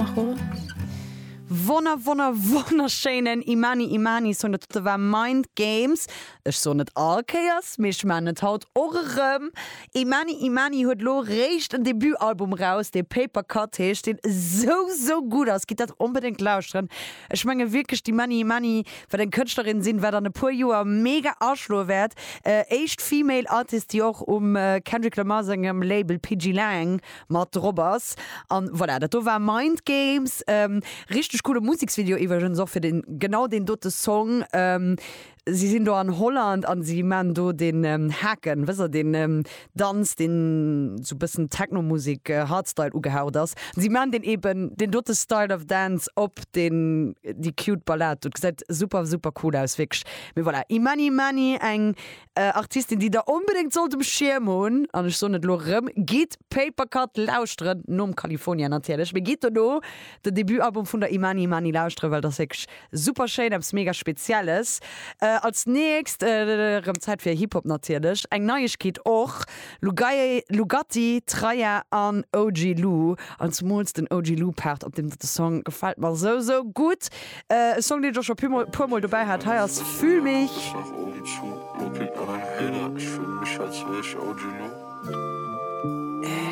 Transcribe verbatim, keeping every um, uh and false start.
Mach hoch. Wonner wonner wonnerschéinen Imani Imani Song, dat dote war Mind Games. Ech soen et all Kéiers, mee ech maan et haut och erëm. Imani Imani huet lo réischt en Debutalbum raus, dee Paper Cut heescht, deen esou sou gutt ass. Gitt dat onbedéngt lauschteren. Ech menge wierklech d'Imani Imani wäert eng Kënschtlerin sinn, wat an e puer Joer mega aschloe wäert. Éischt Female Artist, déi och um Kendrick Lamar sengem Label P G Lang mat drop ass. An voilà, dat do war Mind Games. Richteg coole Museksvideo iwwregens och fir den genau deen dote Song. Si sinn do an Holland an si man do den Haken, wësst der, den Danz, deen sou bëssen Techno-Musek Hardstyle ugehaucht ass. Si man deen eben deen dote Style of Dance op den déi cute Ballad. Dat gesäit super super cool aus wierklech. Mee voilà, Imani Imani, eng Artistin, déi der onbedéngt sollt um Schierm hunn, an ech soen et elo erëm, gitt Paper Cut lauschteren, nom California natierlech, mee gitt dono den Debutalbum vun der Imani Imani lauschteren, well dat ass wierklech super schéin, eppes mega Spezielles. Als nächst, erëm Zäit fir Hip-Hop natierlech, eng Neiegkeet och, Lugai, Lugatti, Traya an O G Lou, an zemools den O G Lou Part op deem dote Song gefält mer sou sou gutt. E Song, deen ech och scho puer puer mol dobäi hat, hei ass Fühl mich. Ich mach Augen zu, guck an ein Hater. Ich fühl mich, als wär ich O G Lou.